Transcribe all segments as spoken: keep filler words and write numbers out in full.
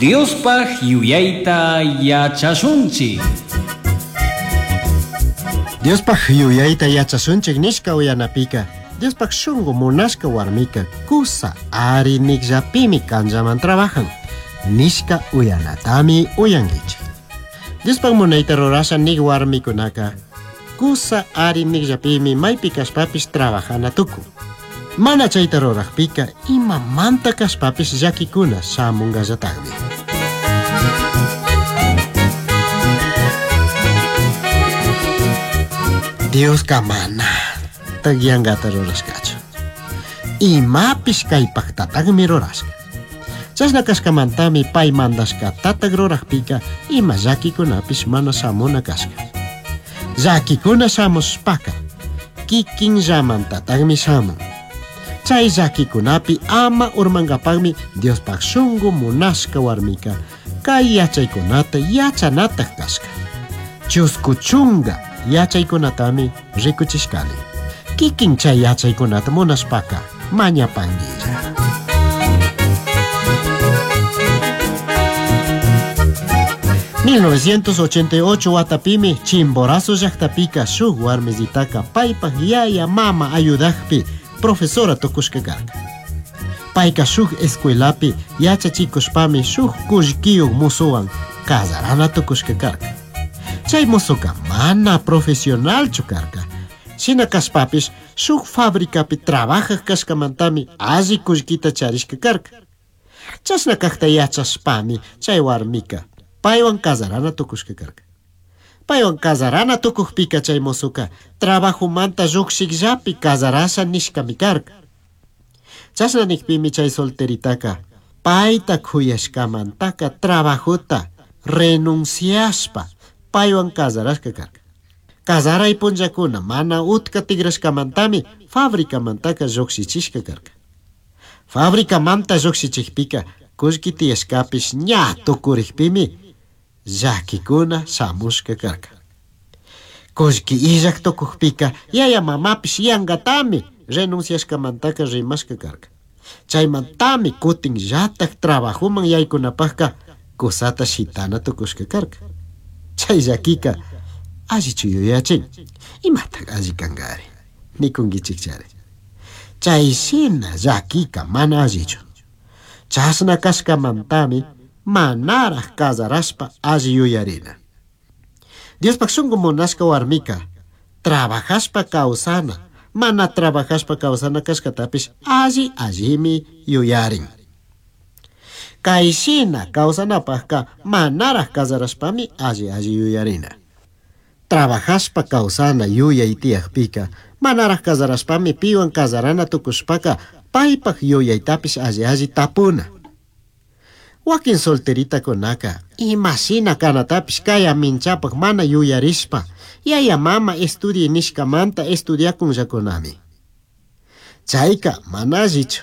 Diospaj yuyayta yachashunchik. Diospaj yuyayta yachashunchik nishka uyanapika Diospaj shungu munashka warmika kusa ari nikllapimi kanllaman trabajan nishka uyanatami uyankichik. Diospaj munayta rurasha nik warmikunaka kusa ari nikllapimi maypi kashpapish trabajana tukun. Mana chayta rurajpika imamanta kashpapish llakikuna shamungallatagmi. Dioska mana tagyankata rurashkachu. Imapish kaypaktatagmi rurashka. Chashna kashkamantami pay mandashkatatag rurajpika ima llakikunapish mana shamuna kashka. Llakikuna shamushpaka kikinllamantatagmi shamun. Chay llakikunapi ama urmankapagmi Diospaj shungu munashka warmika kay yachaykunata yachanataj kashka. Chusku chunga yachaykunatami rikuchishkani. Kikin chay yachaykunata munashpaka mañapanguilla. mil novecientos ochenta y ocho watapimi Chimborazo llaqtapika shuk warmisitaka paypaj yaya mama ayudajpi profesora tukushka karka. Payka shuk escuelapi yachachikushpami shuk kullkiyuq musuwan casarana tukushka karka. Chay musuka mana profesionalchu karka. Shina kashpapish shuk fabricapi trabajaj kashkamantami alli kullkita charishka karka. Chashna kajta yachashpami chay warmika paywan casarana tukushka karka. Paywan casarana tukujpika chay musuka trabajumanta llukshikllapi casarasha nishkami karka. Chashna nikpimi chay solteritaka payta kuyashkamantaka trabajota renunciashpa paywan casarashka karka. Casaray punllakuna mana utka tigrashkamantami fabricamantaka llukshichishka karka. Fabricamanta llukshichikpika kullki tiyashkapish ña tukurikpimi llakikuna shamushka karka. Kullki illak tukukpika yaya mamapish yangatami renunciashkamantaka rimashka karka. Chaymantami kutin llatak trabajuman yaykunapajka kusata shitana tukushka karka. Chay llakika allichu yuyachin. Imatak alli kankari nikunkichikchari. Chay shina llakika mana allichu. Chashna kashkamantami manaraj casarashpa alli yuyarina. Diospaj shungu munashka warmika trabajashpa kawsana, mana trabajashpa kawsana kashkatapish alli allimi yuyarin. Kay shina kawsanapajka manaraj casarashpami alli alli yuyarina. Trabajashpa kawsana yuyay tiyajpika manaraj casarashpami piwan casarana tukushpaka paypaj yuyaytapish alli alli tapuna. Wakin solteritakunaka imashina kanatapish kaya minchapaj mana yuyarishpa yaya mama estudie nishkamanta estudiakunllakunami. Chayka mana allichu.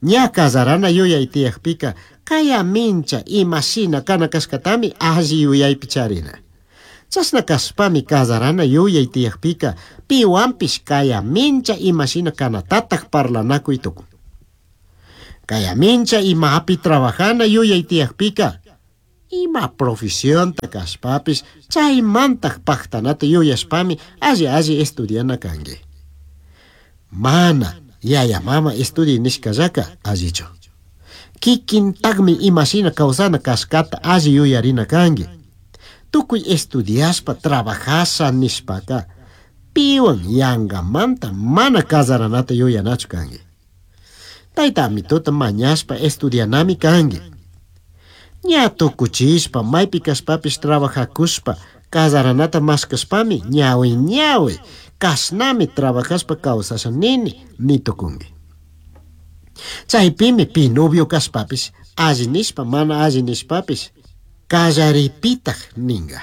Ña casarana yuyay tiyajpika kaya mincha imashina kana kashkatami alli yuyaypi charina. Chashna kashpami casarana yuyay tiyajpika piwanpish kaya mincha imashina kanatataj parlanakuy tukun. Kaya mincha imapi trabajana yuyay tiyajpika ima profesionta kashpapish chaymantaj pajtanata yuyashpami alli alli estudiana kanki. Mana yaya mama estudi nishkallaka allichu. Kikintagmi imashina kawsana kashkata alli yuyarina kanki. Tukuy estudiashpa trabajasha nishpaka piwan yangamanta mana casaranata yuyanachu kanki. Tayta amituta mañashpa estudianami kanki. Ña tukuchishpa maypi kashpapish trabajakushpa casaranata mashkashpami ñawi ñawi kashnami trabajashpa kawsasha nini nitukunki. Chaypimi pi novio kashpapish alli nishpa mana alli nishpapish kallaripitaj ninga.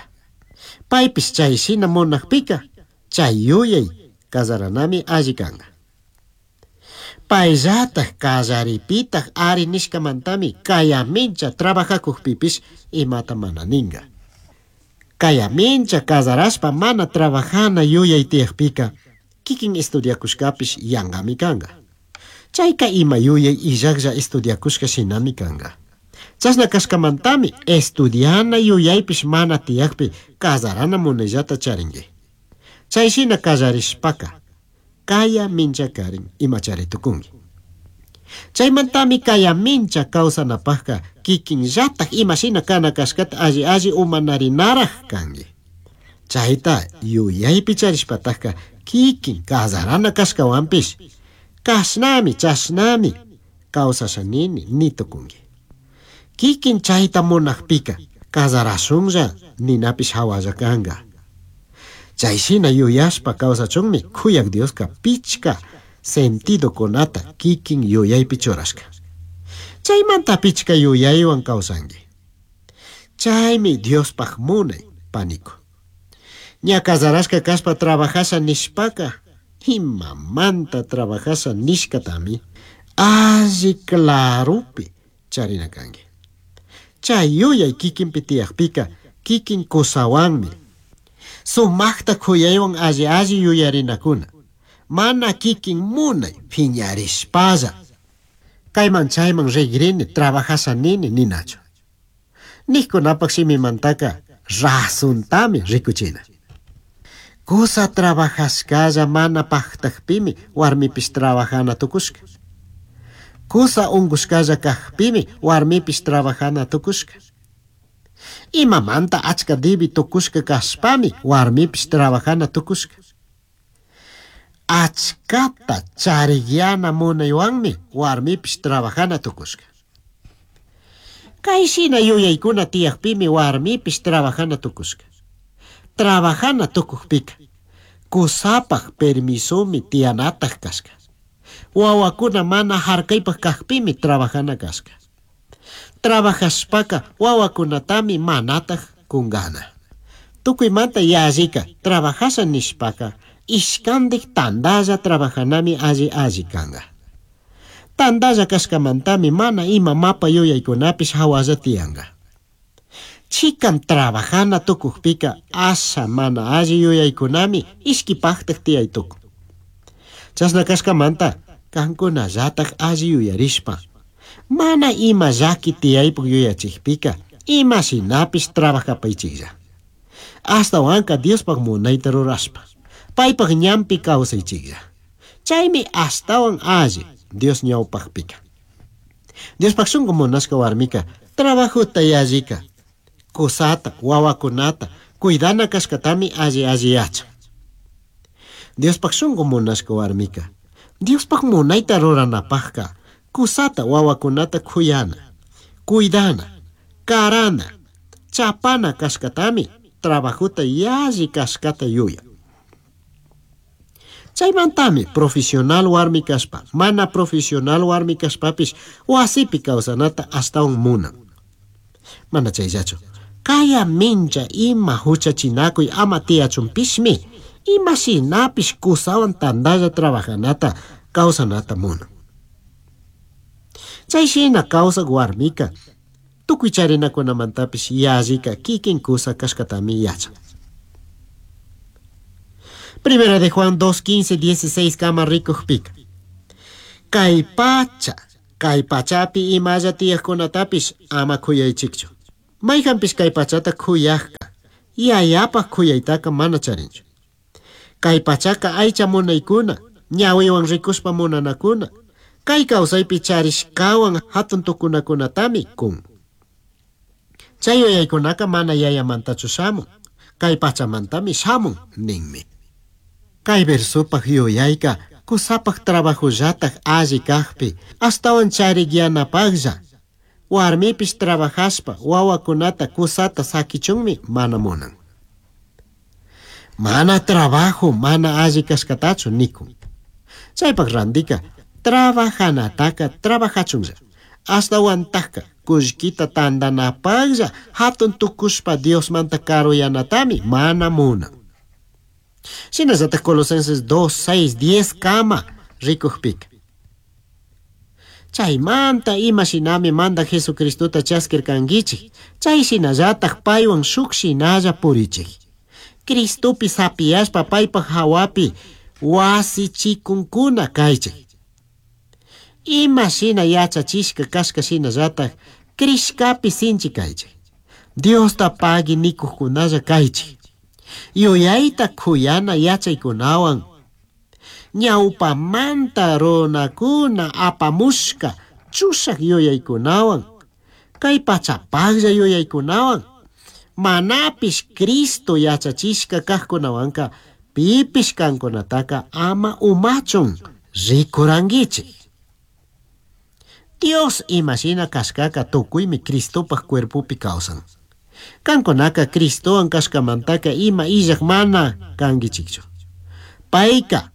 Paypish chay shina munajpika chay yuyay casaranami alli kanka. Payllataj kallaripitaj ari nishkamantami kaya mincha trabajakujpipish imata mana ninga. Kaya mincha casarashpa mana trabajana yuyay tiyajpika kikin estudiakushkapish yankami kanka. Chayka ima yuyay illaklla estudiakushka shinami kanka. Chashna kashkamantami estudiana yuyaypish mana tiyakpi kazarana munayllata charinki. Chay shina kallarishpaka kaya minchakarin imachari tukunki. Chaymantami kaya mincha kawsanapakka kikinllatak imashina kana kashkata alli alli umanarinaraj kanki. Chayta yuyaypi charishpataka kikin kazarana kashkawanpish kashnami chashnami kawsashanini ni tukunki. Kikin chayta munakpika kazarashunlla ninapish hawalla kanka. Chay shina yuyashpa kawsachunmi kuyak Dioska pichka sentidokunata kikin yuyaypi churashka. Chaymanta pichka yuyaywan kawsanki. Chaymi Diospaj munay paniku. Ña kazarashka kashpa trabajasha nishpaka imamanta trabajasha nishkatami alli claropi charina kanki. Chay yuyay kikinpi tiyakpika kikin kusawanmi sumakta kuyaywan alli alli yuyarinakuna. Mana kikin munay phiñarishpalla. Kayman chayman rigrini trabajasha nini ninachu. Nijkunapak shimimantaka rasuntami rikuchina. Kusa trabajashkalla mana paktakpimi warmipish trabajana tukushka. Kusa unkushkalla kakpimi warmipish trabajana tukushka. Imamanta achka dibi tukushka kashpami warmipish trabajana tukushka. Achkata charigyana munaywanmi warmipish trabajana tukushka. Kay shina yuyaykuna tiyakpimi warmipish trabajana tukushka. Trabajana tukukpika kusapaj permisomi tiyanataj kashka. Wawakuna mana harkaypaj kakpimi trabajana kashka. Trabajashpaka wawakunatami manataj kungana. Tukuymanta yallika trabajasha nishpaka ishkandik tandalla trabajanami alli alli kanka. Tandalla kashkamantami mana ima mapa yuyaykunapish hawalla tiyanka. Chikan trabajana tukukpika asha mana alli yuyaykunami ishkipaktak tiyay tukun. Chashna kashkamanta kankunallatak alli yuyarishpa mana ima llaki tiyaypuk yuyachikpika ima shinapish trabajapaychiklla. Ashtawanka Diospaj munayta rurashpa paypaj ñanpi kawsaychiklla. Chaymi ashtawan alli Dios ñawpakpika. Diospaj shunku munashka warmika trabajota yallika kusata wawakunata cuidana kashkatami alli alli yachan. Diospaj shunku munashka warmika Diospaj munayta ruranapajka kusata wawakunata kuyana, cuidana, karana, chapana kashkatami trabajota yalli kashkata yuya. Chaymantami profesional warmi kashpa, mana profesional warmi kashpapish wasipi kawsanata ashtawan munan. Mana chayllachu, kaya mincha ima huchachinakuy ama tiyachunpishmi, ima shinapish kusawan tandalla trabajanata kawsanata munan. Chay shina kawsak warmika tukuy charinakunamantapish yallika kikin kusa kashkatami yachan. Primera de Juan dos, quince, dieciséis kama rikukpika. Kay pacha, kay pachapi imalla tiyakkunatapish ama kuyaychikchu. Mayqanpish kay pachata kuyakka, yayapaj kuyaytaka mana charinchu. Kay pachaka aycha munaykuna, ñawiwan rikushpa munanakuna, kay kawsaypi charishkawan hatun tukunakunatami kun. Chay yuyaykunaka mana yayamantachu shamun, kay pachamantami shamun ninmi. Kay versopaj yuyayka kusapaj trabajollataj alli kakpi, ashtawan charikyanapajlla. Warmipish trabajashpa wawakunata kusata sakichunmi mana munan. Mana trabajo mana alli kashkatachu nikun. Chaypaj randika trabajanataka trabajachunlla. Ashtawantaka kullkita tandanapajlla hatun tukushpa Diosmanta karuyanatami mana munan. Shinallatak Colosenses dos, seis, diez kama rikukpika. Chaymanta ima shinami manda Jesucristota chaskirkankichik, chay shinallatak paywan shuk shinalla purichik. Cristopi sapiyashpa paypaj hawapi wasichikunkuna kaychik. Ima shina yachachishka kashka shinallatak Crishcapi sinchi kaychik. Diosta pagui nikuqkunalla kaychik. Yuyayta kuyana yachaykunawan. Ñawpamanta runakuna apamushka chushak yuyaykunawan. Kay pachapaqlla yuyaykunawan. Manapish Cristo yachachishka kaqkunawanka pipish kankunataka ama umachun rikurankichik. Dios imashina kashkaka tukuymi Cristopaj cuerpopi kawsan. Kankunaka Cristowan kashkamantaka ima illak mana kankichikchu. Payka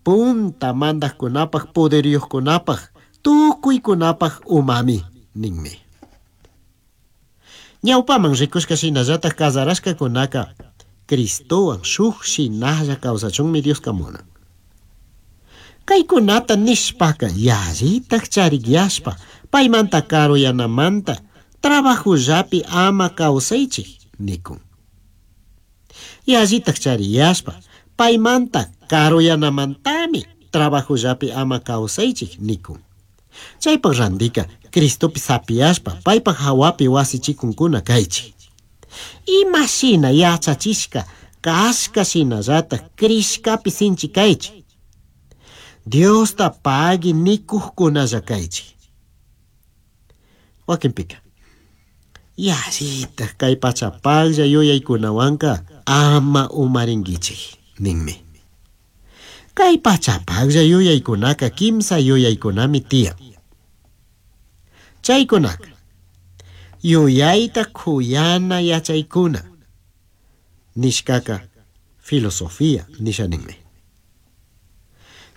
punta mandaqkunapaj poderyuqkunapaj tukuykunapaj umami ninmi. Ñawpaman rikushka shinallataj casarashkakunaka Cristowan shuk shinalla kawsachunmi Dioska munan. Kaykunata nishpaka yallitaj charikyashpa paymanta karuyanamanta trabajullapi ama kawsaychik nikun. Yallitaj chariyashpa paymanta karuyanamantami trabajullapi ama kawsaychik nikun. Chaypaq randika Cristopi sapiyashpa paypaq hawapi wasichikunkuna kaychik. Imashina yachachishka kashka shinallataj crishkapi sinchi kaychik. Diosta pagui nikuqkunalla kaychik. Wakinpika yallitaj kay pachapaqlla yuyaykunawanka ama umarinkichik ninmi. Kay pachapaqlla yuyaykunaka kimsa yuyaykunami tiyan. Chaykunaka yuyayta kuyana yachaykuna nishkaka filosofía nisha ninmi.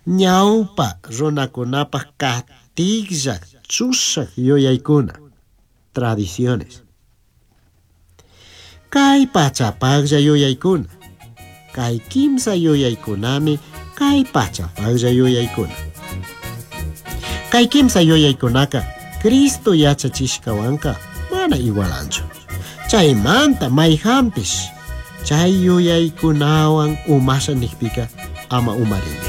Ñawpa runakunapaq katiklla chushak yuyaykuna tradiciones. Kay pachapaqlla yuyaykuna kay kimsa yuyaykunami kay pachapaqlla yuyaykuna. Kay kimsa yuyaykunaka Cristo yachachishkawanka mana igualanchu. Chaymanta mayhanpish chay yuyaykunawan umasha nikpika ama umarinki.